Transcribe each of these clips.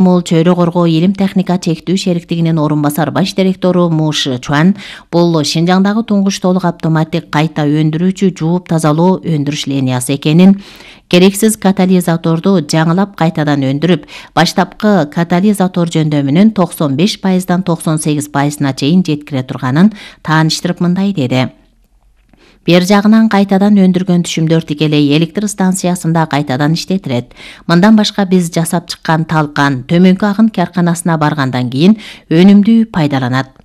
Мул чөйрө коргоо илим техника чектүү шериктигинин орун басар баш директору Му Ши Чуан бул Шинжаңдагы туңгуч толук автоматтик кайта өндүрүүчү жууп тазалоо өндүрүш линиясы экенин, керексиз катализаторду жаңылап кайтадан өндүрүп, баштапкы катализатор жөндөмүнүн 95%дан 98%на чейин жеткире турганын тааныштырып мындай деди. Бер жагынан кайтадан өндүргөн түшүмдөр тикелей электр станциясында кайтадан иштетилет. Мындан башка биз жасап чыккан талкан төмөнкү агын карканасына баргандан кийин өнүмдүү пайдаланат.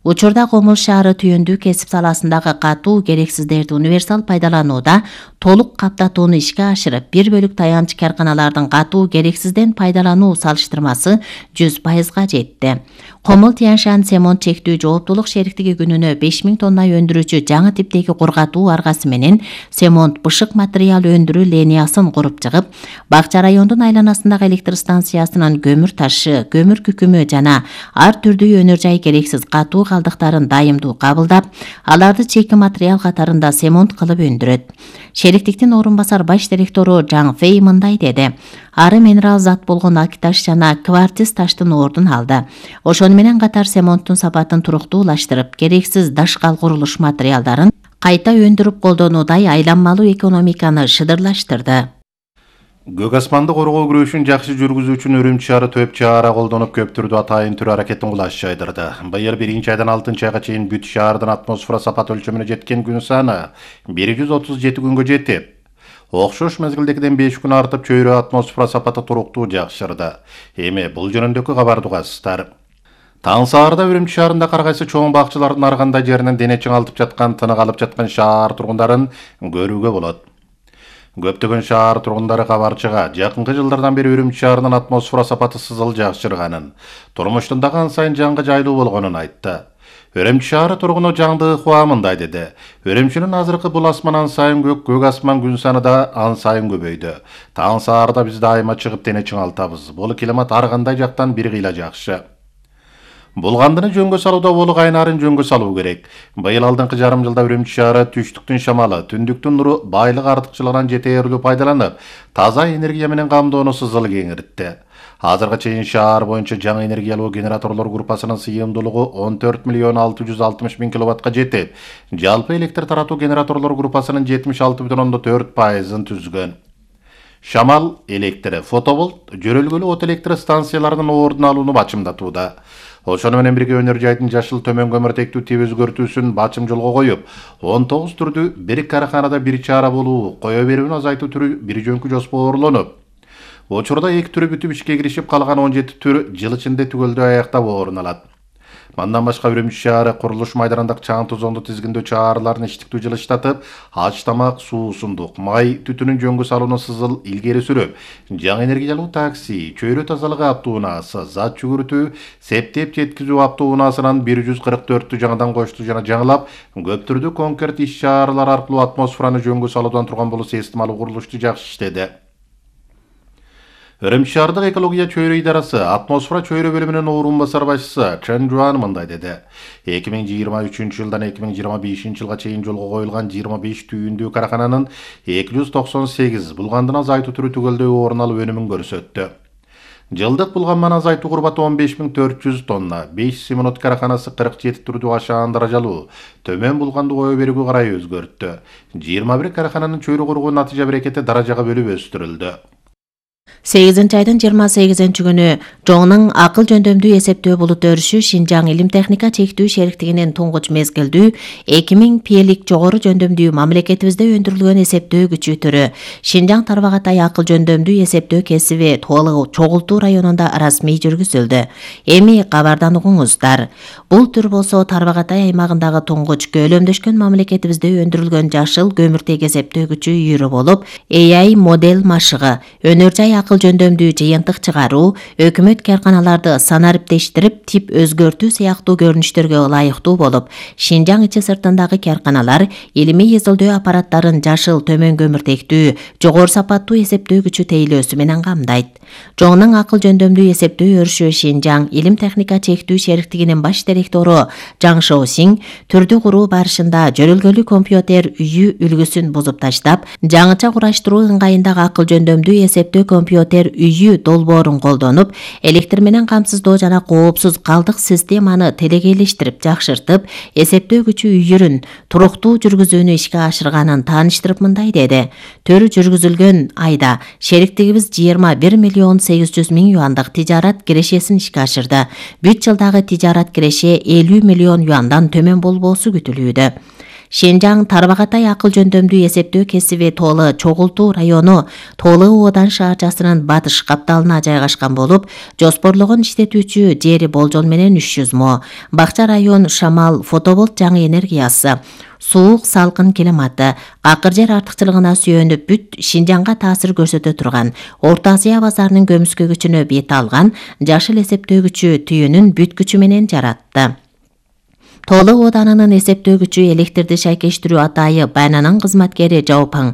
Учурда Комул шаары түйүндүү кесип саласындагы катуу керексиздерди универсал пайдаланууда толук каптатууну ишке ашырып, 1/4 таянч карканалардын катуу керексизден пайдалануу салыштырмасы 100%га жетти. Комул Тянь-Шань Цемонт чектүү жооптулук шериктиги күнүнө 5000 тонна өндүрүүчү жаңы типтеги кургатуу аргасы менен цемонт бышык материал өндүрүү линиясын куруп чыгып, Бакча райондун айланасындагы электр станциясынын көмүр ташы, көмүр күкүмү жана ар түрдүү өнөр жай керексиз катуу калдыктарын дайымдуу кабылдап, аларды чеки материал катарында цемонт кылып өндүрөт. Шериктиктин орун басар баш директору Жаң Фэй мындай деди. Ары минерал зат болгон акташ жана кварциз таштын ордун алды. Ошону менен катар цемонттун сапатын туруктуулаштырып, керексиз дашкал курулуш материалдарын кайта өндүрүп колдонуудай айланмалуу экономиканы шыдырлаштырды. Көк асманды коргоо күрөшүн жакшы жүргүзүү үчүн Үрүмчү шаары төп чара колдонуп көп түрдүү атайын түр аракеттин кулаш жайдырды. Быйыл 1-айдан 6-айга чейин бүт шаардын атмосфера сапат өлчөмүнө жеткен күн саны 137 күнгө жетип, окшош мезгилдегиден 5 күн артып чөйрө атмосфера сапаты туруктуу жакшырды. Эми бул жөнүндөгү кабарды угасыздар. Таң саарда Үрүмчү шаарында ар кайсы чоң бакчылардын ар кандай жеринен дене чыңалтып жаткан, тынык алып жаткан шаар тургундарын көрүүгө болот. Көптөгөн шаар тургундары кабарчыга жакынкы жылдардан бери Үрүмчү шаарынын атмосфера сапаты сызыл жакшырганын, турмуштун дагы ан сайын жаңгы жайлуу болгонун айтты. Үрүмчү шаары тургуну Жаңдык Хуа мындай деди. Үрүмчүнүн азыркы бул асман ан сайын көк асман күн саны да ан сайын көбөйдү. Таң саарда биз дайыма чыгып дене чыңалтабыз. Бул климат ар кандай жактан бир кыйла жакшы. Булгандыны жөнгө салууда болук айнарын жөнгө салуу керек. Быйыл алдыңкы жарым жылда Үрүмчү шаары түштүктүн шамалы, түндүктүн нуру байлык артыкчылыгынан жетээрлүү пайдаланып, таза энергия менен камдоону сызыл кеңиртти. Азыркыга чейин шаар боюнча жаңы энергиялуу генераторлор группасынын сыйымдуулугу 14.660.000 киловаттка жетип, жалпы электр таратуу генераторлор группасынын 76,4%-ын түзгөн. Шамал электри, фотоболт, жөрөлгөлүү от электр станцияларынын ордун алууну бачымдатууда. Ошону менен бирге өнөр жайдын жашыл төмөн көмүртектүү тип өзгөртүүсүн бачым жолго коюп, 19 түрдүү бир караханада бир чара болуу, кое берүүнү азайтуу түрү бир жөнкү жоспорлонуп, учурда 2 түрү бүтүп ишке киришип, калган 17 түр жыл ичинде түгөлдөө аяктап орун алат. Мандан башка Үрүмчү шаары курулуш майданындагы чаң тозонду тизгиндөө чараларын иштиктүү жылыштатып, аш тамак, суу, сундук, май түтүнүн жөнгө салууну сызыл илгери сүрүп, жаңы энергиялуу такси, чөйрө тазалыгы автоунаасы, зат жүгүртүү, септеп жеткизүү автоунаасынан 144 жаңыдан кошту жана жаңылап, көп түрдүү конкрет иш чаралар аркылуу атмосфераны жөнгө салуудан турган болуп эстималуу курулушту жакшы иштеди. Үрүмчү шаардык экология чөйрө идарасы атмосфера чөйрө бөлүмүнүн орун басар башчысы Чен Жуан мындай деди. 2023 жылдан 2025 жылга чейин жолго коюлган 25 түйүндүү карахананын 298 булгандын азайтуу түрү түгөлдөө орун алып өнүмүн көрсөттү. Жылдык булган азайтуу курбаты 15.400 тонна, 5 Симонот караханасы 47 түрдүү ашаан даражалуу, төмөн булганды кое берүүгө карай өзгөрттү. 21 карахананын чөйрө коргоо натыйжа берекети даражага бөлүп өстүрүлдү. 8-айдын 28-күнү Жоңнун акыл жөндөмдүү эсептөө булут өрүшү Шинжаң илим техника чектүү шериктигинин туңгуч мезгилдүү 2000 пиелик жогору жөндөмдүү мамлекетибизде өндүрүлгөн эсептөө күчү түрү Шинжаң Тарбагатай акыл жөндөмдүү эсептөө кесиби Чогултуу районунда расмий жүргүзүлдү. Эми кабардан угуңуздар. Бул түр болсо Тарбагатай аймагындагы туңгуч көлөмдөшкөн мамлекетибизде өндүрүлгөн жашыл көмүртек эсептөө күчү үйрү болуп, AI модель машыгы, өнөр жай акыл жөндөмдүү жыйынтык чыгаруу, өкмөт карканаларды санариптештирип, тип өзгөртүү сыяктуу көрүнүштөргө ылайыктуу болуп, Шинжаң ичи сыртындагы карканалар илимий изилдөө аппараттарын жашыл төмөн көмүртектүү, жогору сапаттуу эсептөө күчү тейлөөсү менен камдайт. Жоңнун акыл жөндөмдүү эсептөө өрүшү Шинжаң илим техника чектүү шериктигинин баш директору Жаң Шоусиң түрдү куруу барышында жөрөлгөлүү компьютер үйү үлгүсүн бузуп таштап, жаңыча кураштыруу ыңгайындагы акыл жөндөмдүү эсептөө компьютер биотер үйү долбоорун колдонуп, электр менен камсыздоо жана коопсуз калдык системаны телегейлештирип жакшыртып, эсептөө күчү үйүрүн туруктуу жүргүзүүнү ишке ашырганын тааныштырып мындай деди. Төрү жүргүзүлгөн айда шериктигибиз 21,8 миллион юандык тижарат кирешесин ишке ашырды. Бүт жылдагы тижарат киреше 50 миллион юандан төмөн болбоосу күтүлүүдө. Шенжаң Тарбагатай акыл жөндөмдүү эсептөө кесиби Тоолы Чогултуу району Тоолы Оодан шаарчасынын батыш капталына жайгашкан болуп, жоспорлогон иштетүүчү жери болжол менен 300 мо. Бакча район Шамал фотоболт жаңы энергиясы, суук салкын климаты, акыр жер артыкчылыгына сүйөнүп бүт Шинжаңга таасир көрсөтө турган, Орто Азия базарынын көмүскө күчүнө бет алган жашыл эсептөө күчү түйүнүн бүт күчү менен жаратты. Тоолы Ооданынын эсептөө күчү электрди шайкештирүү атайы Байнанын кызматкери Жаопаң,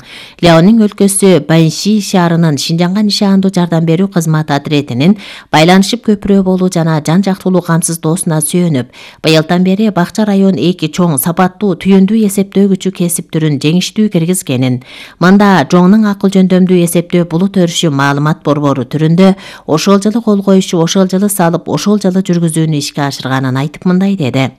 Ляонин өлкөсү Баньши шаарынын Шинжаңга нишандуу жардам берүү кызмат отретинин байланышып көпүрө болуу жана жан жактуулуу камсыздоосуна сүйөнүп, быйылдан бери Бакча район 2 чоң сапаттуу түйүндүү эсептөө күчү кесип түрүн жеңиштүү киргизгенин, мында жоңнун акыл жөндөмдүү эсептөө булут өрүшү маалымат борбору түрүндө ошол жылы кол коюшу, ошол жылы салып, ошол жылы жүргүзүүнү ишке ашырганын айтып мындай деди.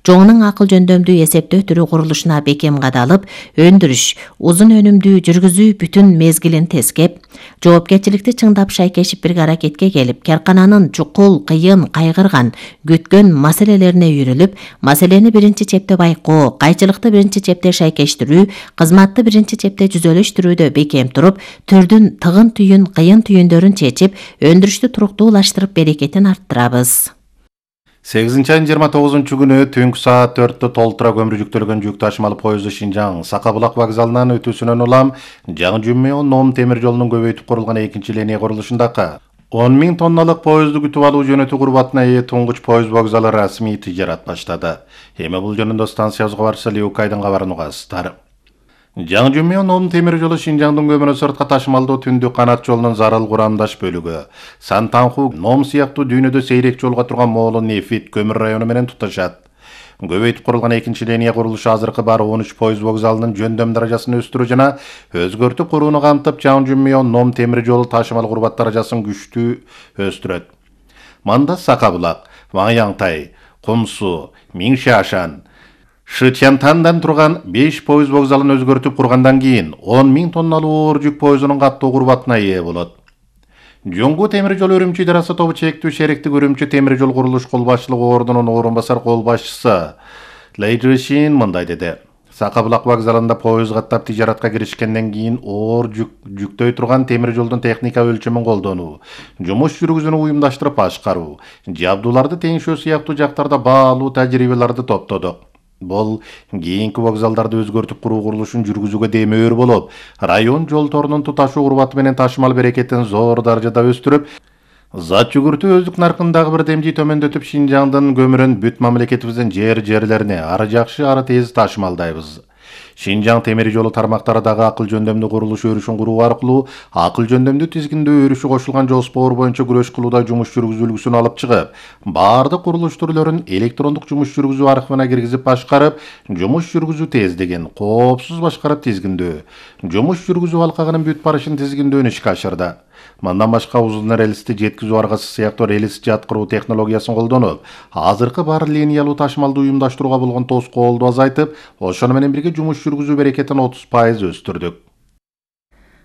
Жоңнун акыл жөндөмдүү эсептөө түрү курулушуна бекем кадалып, өндүрүш, узун өнүмдүү жүргүзүү бүтүн мезгилин тескеп, жоопкерчиликти чыңдап шайкешип бир аракетке келип, каркананын чукул, кыйын, кайгырган, күткөн маселелерине үйрүлүп, маселени биринчи чепте байкоо, кайчылыкты биринчи чепте шайкештирүү, кызматты биринчи чепте жүзөлөштүрүүдө бекем туруп, түрдүн тыгын түйүн, кыйын түйүндөрүн чечип, өндүрүштү туруктуулаштырып берекетин арттырабыз. 8-айдын 29 күнү түнкү саат 4-тө толтура көмүр жүктөлгөн жүк ташымалы поезду Шинжаң Сакабулак вокзалынан өтүүсүнөн улам Жаңы Жүмө Ном темир жолунун көбөйтүп курулган экинчи линия курулушундагы 10 000 тонналык поезду күтүп алуу жөнөтүү курбатына ээ туңгуч поезд вокзалы расмий тижарат баштады. Эми бул жөнүндө станциябызга барса Леукайдын кабарын угасыздар. Жаңы Жүмө Ном темир жолу Шинжаңдын көмүрү сыртка ташымалдоо түндүк канат жолунун зарыл курамдаш бөлүгү. Сантанху, Ном сыяктуу дүйнөдө сейрек жолго турган Моолу Нефит көмүр району менен туташат. Көбөйтүп курулган экинчи линия курулушу азыркы бар 13 поезд вокзалынын жөндөм даражасын өстүрүү жана өзгөртүп курууну камтып, Жаңы Жүмө Ном темир жолу ташымал курбат даражасын күчтүү өстүрөт. Манда Сакабулак, Ваңяңтай, Кумсу, Миңшашан, Шычантандан турган 5 поезд вокзалын өзгөртүп кургандан кийин 10 000 тонналуу оор жүк поездунун каттоо курбатына ээ болот. Жоңгу темир жол Өрүмчү идарасы тобу чектүү шериктик Өрүмчү темир жол курулуш кол башчылыгы ордунун орун басар кол башчысы Лейжишин мындай деди. Сакабулак вокзалында поезд каттап тижаратка киришкенден кийин оор жүктөй турган темир жолдун техника өлчөмүн колдонуу, жумуш жүргүзүүнү уюмдаштырып башкаруу, жабдууларды теңшөө сыяктуу жактарда баалуу тажрыйбаларды топтодук. Бул кийинки вокзалдарды өзгөртүп куруу курулушун жүргүзүүгө демөөр болуп, район жол торунун туташуу курбаты менен ташымал берекетин зор даражада өстүрүп, зат жүгүртүү өздүк наркындагы бир демди төмөндөтүп, Шинжаңдын көмүрүн бүт мамлекетибиздин жерлерине ары жакшы, ары тез ташымалдайбыз. Шинжаң темир жолу тармактары дагы акыл жөндөмдүү курулуш өрүшүн куруу аркылуу акыл жөндөмдүү тизгиндөө өрүшү кошулган жоспор боюнча күрөш кылууда жумуш жүргүзүлгүсүн алып чыгып, баардык курулуш түрлөрүн электрондук жумуш жүргүзүү аркыбына киргизип башкарып, жумуш жүргүзүү тездигин коопсуз башкарып тизгиндөө, жумуш жүргүзүү алкагынын бүт барышын тизгиндөөнү ишке ашырды. Мындан башка узун рельсти жеткизүү аргасы сыяктуу рельс жаткыруу технологиясын колдонуп, азыркы бар линиялуу ташымалды уюмдаштырууга болгон тоскоолду азайтып, ошону менен бирге жумуш жүргүзүү берекетин 30% өстүрдүк.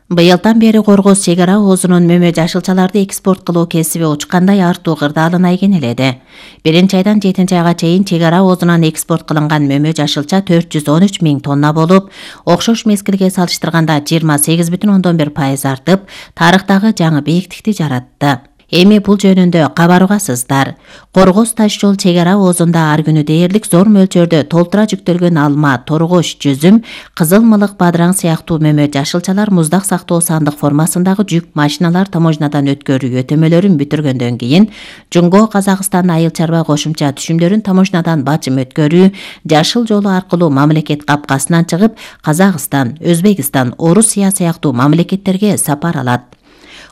Быйылдан бери Коргоз чек ара оозунун мөмө жашылчаларды экспорт кылуу кесиби учкандай артуу кырдаалына ийгенеледи. 1-айдан 7-айга чейин чек ара оозунан экспорт кылынган мөмө жашылча 413 000 тонна болуп, окшош мезгилге салыштырганда 28,1% артып, тарыхтагы жаңы бийиктикти жаратты. Эми бул жөнүндө кабар угасыздар. Коргоз таш жол чек ара оозунда ар күнү дээрлик зор мөлчөрдө толтура жүктөлгөн алма, торгош, жүзүм, кызыл мылык, бадыраң сыяктуу мөмө жашылчалар муздак сактоо сандык формасындагы жүк машиналар таможнядан өткөрүү өтөмөлөрүн бүтүргөндөн кийин, Жумго Казакстан айыл чарба кошумча түшүмдөрүн таможнядан бачым өткөрүү, жашыл жолу аркылуу мамлекет капкасынан чыгып, Казакстан, Өзбекстан, Орусия сыяктуу мамлекеттерге сапар алат.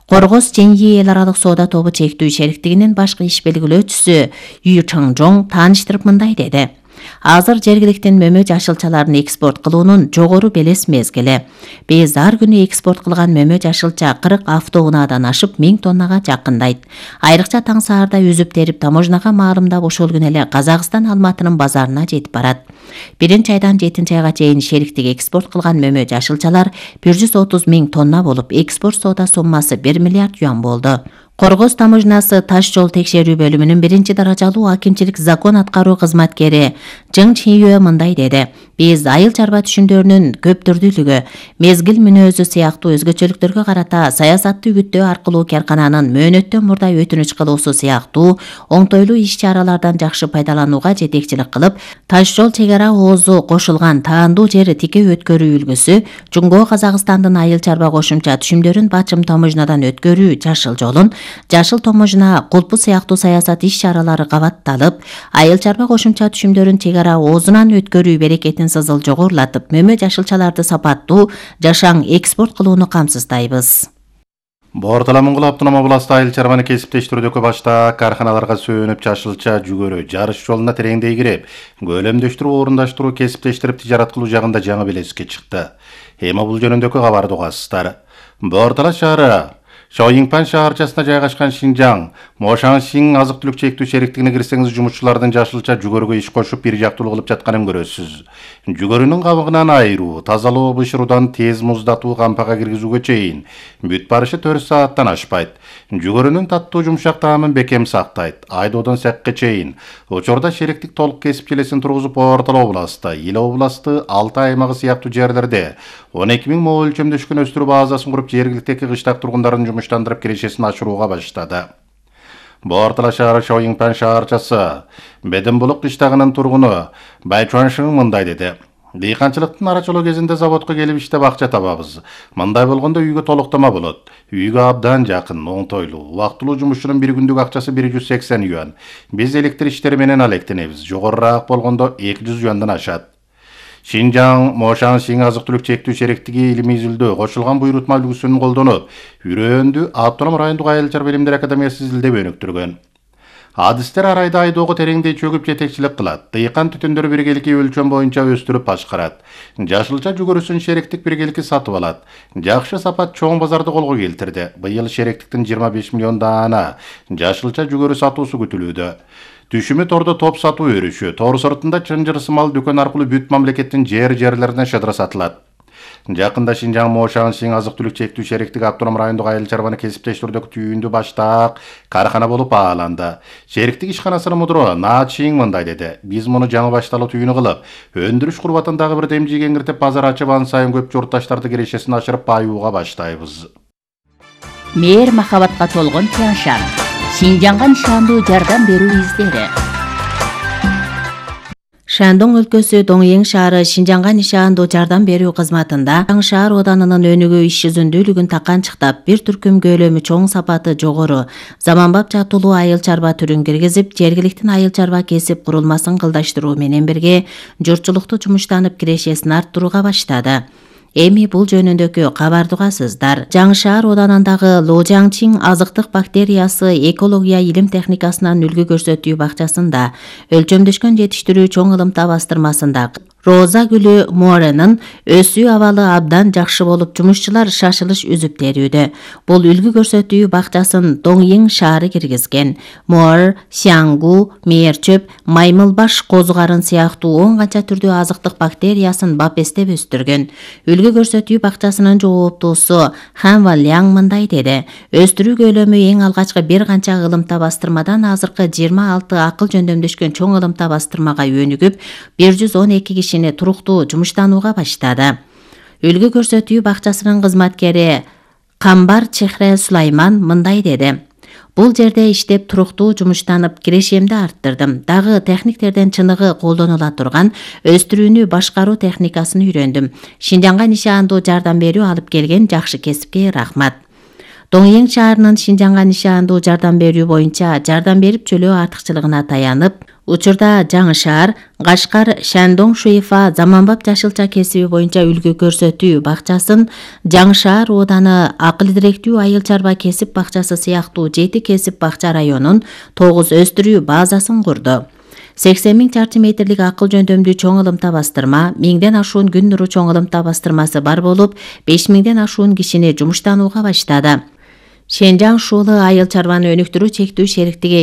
Коргоз Ченьи эл аралык соода тобу чектүү шериктигинин башкы иш белгилөөчүсү Ю Чаңжоң тааныштырып мындай деди. Азыр жергиликтин мөмө жашылчаларын экспорт кылуунун жогору белес мезгили. Биз ар күнү экспорт кылган мөмө жашылча 40 автоунаадан ашып 1000 тоннага жакындайт. Айрыкча таң саарда үзүп терип таможнага маалымдап ошол күнү эле Казакстан Алматынын базарына жетип барат. 1-айдан 7-айга чейин шериктик экспорт кылган мөмө жашылчалар 130 000 тонна болуп, экспорт соода суммасы 1 миллиард юан болду. Коргоз таможнасы таш жол текшерүү бөлүмүнүн 1-даражалуу акимчилик закон аткаруу кызматкери Жың Чийөө мындай деди: Биз айыл чарба түшүмдөрүнүн көптүрдүүлүгү, мезгил мүнөзү сыяктуу өзгөчөлүктөргө карата саясатты үгүттөө аркылуу каркананын мөөнөттөн мурда өтүнүч кылуусу сыяктуу оңтойлуу иш-чаралардан жакшы пайдаланууга жетекчилик кылып, таш жол чек ара оозу кошулган таандуу жер тике өткөрүү үлгүсү, Жуңго Казакстандын айыл чарба кошумча түшүмдөрүн бачым таможнадан өткөрүү жашыл жолун, жашыл таможна кулпу сыяктуу саясат иш-чаралары кабатталып, айыл чарба кошумча түшүмдөрүн чек ара оозунан өткөрүү берекетин сызыл жогорулатып, мөмө жашылчаларды сапаттуу, жашаң экспорт кылууну камсыздайбыз. Бортала Моңгол автономия областында айыл чарбаны кесиптештирүүдөгү башта карханаларга сөөнүп жашылча жүгөрү жарыш жолуна тереңдей кирип, көлөмдөштүрүп, орундаштыруу, кесиптештирип тижарат кылуу жагында жаңы белеске чыкты. Эми бул жөнүндөгү кабарды угасыздар. Бортала шаары Шоюңпан шаарчасына жайгашкан Шинжаң Мошаңшин азык-түлүк чектүү шериктигине кирсеңиз, жумушчулардын жашылча жүгөрүгө иш кошуп бир жактуу кылып жатканын көрөсүз. Жүгөрүнүн кабыгынан айыруу, тазалоо, бышыруудан тез муздатуу, кампага киргизүүгө чейин бүт барышы 4 сааттан ашпайт. Жүгөрүнүн таттуу жумшак таамын бекем сактайт. Айдоодон сакка чейин. Учурда шериктик толук кесип желесин тургузуп, Бортала областы, Ил областы, Алтай аймагы сыяктуу жерлерде 12 000 мо өлчөмдөшкөн өстүрүү базасын куруп, жергиликтеги кыштак тургундарын жумуштандырып кирешесин ашырууга баштады. Бортала шаары Шоюңпан шаарчасы Беденбулук кыштагынын тургуну Байчуаншың мындай деди: Дыйканчылыктын арачылоо кезинде заводко келип иштеп акча табабыз. Мындай болгондо үйгө толуктама болот. Үйгө абдан жакын, оңтойлуу. Убактылуу жумушчунун бир күндүк акчасы 180 юан. Биз электр иштери менен алектенебиз. Жогорураак болгондо 200 юандан ашат. Шинжаң Мошаңшин азык-түлүк чектүү шериктиги илимий изилдөө кошулган буйрутма үлгүсүн колдонуп, Үрөндү автоном райондук айыл чарба илимдер академиясы изилдеп өнүктүргөн. Адистер арайда айдоого тереңдей чөгүп жетекчилик кылат. Дыйкан түтүндөрү биргелики өлчөм боюнча өстүрүп башкарат. Жашылча жүгөрүсүн шериктик биргелики сатып алат. Жакшы сапат чоң базарды колго келтирди. Быйыл шериктиктин 25 миллион даана жашылча жүгөрү сатуусу күтүлүүдө. Түшүмү тордо топ сатуу өрүшү, тор сыртында чынжыр сымал дүкөн аркылуу бүт мамлекеттин жерлерине шыдыра сатылат. Жакында Шинжаң Мошаңшин азык-түлүк чектүү шериктиги автоном райондук айыл чарбаны кесиптештирүүдөгү түйүндү баштаак кархана болуп бааланды. Шериктик ишканасынын мудуру Наачиң мындай деди: Биз муну жаңы башталуу түйүнү кылып, өндүрүш курбатын дагы бир демжиге киртип, базар ачып, ан сайын көп журтташтарды кирешесин ашырып баюуга баштайбыз. Мээр махабатка толгон Тяншан. Шинжаңга нишандуу жардам берүү издери. Шандong өлкөсү Доңйең шаары Шинжаңга нишандуу жардам берүү кызматында шаар оданынын өнүгүү иш жүзүндүүлүгүн таканчыктап, бир түркүм көлөмү чоң, сапаты жогору, заманбап жатуулуу айыл чарба түрүн киргизип, жергиликтин айыл чарба кесип курулмасын кылдаштыруу менен бирге журтчулукту жумуштанып кирешесин арттырууга баштады. Эми бул жөнүндөгү кабарды угасыздар. Жаңшаар оданындагы Ложаңчиң азыктык бактериясы экология илим техникасынан үлгү көрсөтүү бакчасында өлчөмдөшкөн жетиштирүү чоң ылымта бастырмасында Роза гүлү Моренин өсүү абалы абдан жакшы болуп, жумушчулар шашылыш үзүп терүүдө. Бул үлгү көрсөтүү бакчасын Доңйең шаары киргизген. Мор, сяңгу, мээрчөп, маймылбаш козугарын сыяктуу 10 канча түрдүү азыктык бактериясын бапестеп өстүргөн. Үлгү көрсөтүү бакчасынын жооптуусу Ханва Ляң мындай деди: Өстүрүү көлөмү эң алгачкы бир канча ылымта бастырмадан азыркы 26 акыл жөндөмдөшкөн чоң ылымта бастырмага өнүгүп, 112 кишини туруктуу жумуштанууга баштады. Үлгү көрсөтүү бакчасынын кызматкери Камбар Чехре Сулайман мындай деди: Бул жерде иштеп туруктуу жумуштанып, кирешемди арттырдым. Дагы техниктерден чыныгы колдонула турган өстүрүүнү башкаруу техникасын үйрөндүм. Шинжаңга нишандуу жардам берүү алып келген жакшы кесипке рахмат. Доңйең шаарынын Шинжаңга нишандуу жардам берүү боюнча жардам берип чөлөө артыкчылыгына таянып, учурда жаңы шаар Кашкар Шандong Шуйфа заманбап жашылча кесиби боюнча үлгү көрсөтүү бакчасын, жаңы шаар ооданы акыл директүү айыл чарба кесип бакчасы сыяктуу 7 кесип бакча районун 9 өстүрүү базасын курду. 80 000 чарчы метрлик акыл жөндөмдүү чоң ылымта бастырма, 1000ден ашуун күн нуру чоң ылымта бастырмасы бар болуп, 5000ден ашуун кишини жумуштанууга баштады. Шенжаң Шуулы айыл чарбаны өнүктүрүү чектүү шериктиги